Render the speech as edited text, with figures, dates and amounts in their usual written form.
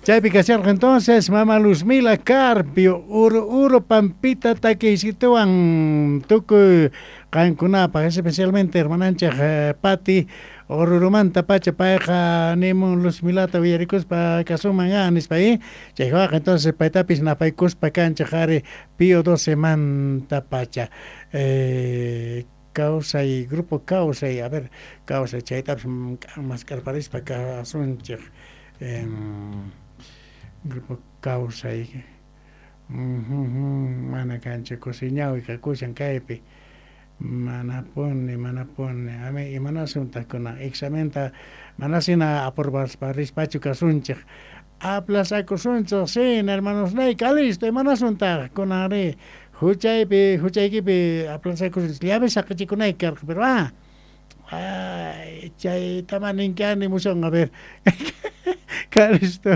Chaypi kasharqa entonces mama Luzmila Carpio, Uru Uru Pampita takiysituwan tukuy qankunapaj, especialmente hermananchej Pati Orurumanta pacha payqa nimun Luzmilata uyarikuspa kasunman ya nispa y chaywaqa entonces paytapis napaykuspa kanchej ari Pío 12 manta pacha. Kawsay, grupo Kawsay, a ver, Kawsay chaytapis mask'arparispa kasunchej. Grupo Kawsay. Mana kanchu kusiñawi kakushan kaypi. Manapuni, manapuni. Ami imanasuntaj kunan examenta manasina aprobaspa rispachu kasunchej. Aplazakusunchej sina hermanosnay Calisto imanasuntaj kunanrí huchaypi huchaykipi aplazakusunchej llave saqechikunayki karqa pero ah ay chaytama ninki animusun a ver Calisto.